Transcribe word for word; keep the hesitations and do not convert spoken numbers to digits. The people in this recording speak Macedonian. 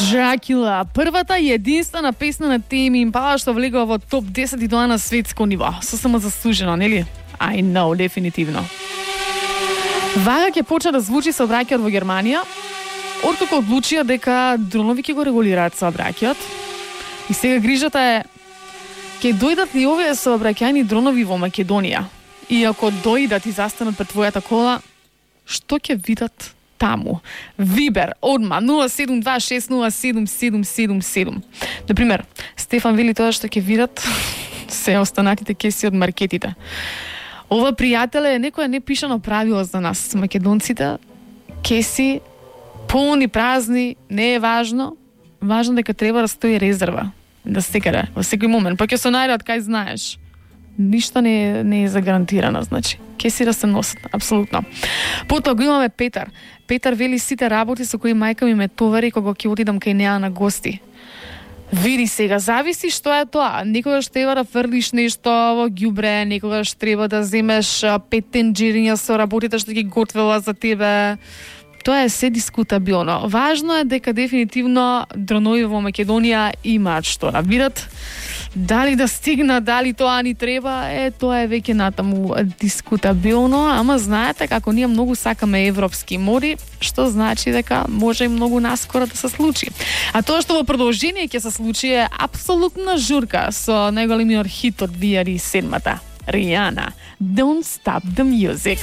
Dracula, првата и единствена песна на Tame Impala што влегува во топ десет и тоа на светско ниво. Сосема заслужено, нели? I know, дефинитивно. Вага ќе почне да звучи сообраќајот во Германија, откако одлучија дека дронови ќе го регулираат сообраќајот. И сега грижата е, ќе дојдат ли овие сообраќајни дронови во Македонија? И ако дојдат и застанат пред твојата кола, што ќе видат таму? Вибер, одма, нула седум два шест нула седум седум седум седум. Например, Стефан вели тоа што ќе видат се останатите кеси од маркетите. Ова, пријателе, е некоја непишано правило за нас, македонците. Кеси, полни, празни, не е важно. Важно дека треба да стои резерва. Да секаде, во секој момент. Па ќе се најдат, кај знаеш. Ништо не е, не е загарантирано, значи. Кеси да се носат, апсолутно. Потоа го имаме Петар. Петар вели сите работи со кои мајка ми ме товари кога ќе отидам кај неа на гости. Види сега, зависи што е тоа. Некогаш треба да фрлиш нешто во ѓубре, некогаш треба да земеш пет тенџериња со работите што ги готвела за тебе. Тоа е се дискутабилно. Важно е дека дефинитивно дронови во Македонија имаат што да видат. Дали да стигна, дали тоа ни треба, е, тоа е веќе натаму дискутабилно, ама знаете како ние многу сакаме европски моди, што значи дека може и многу наскоро да се случи. А тоа што во продолжение ќе се случи е апсолутна журка со најголемиот хит од две илјади и седмата. Rihanna, Don't Stop the Music.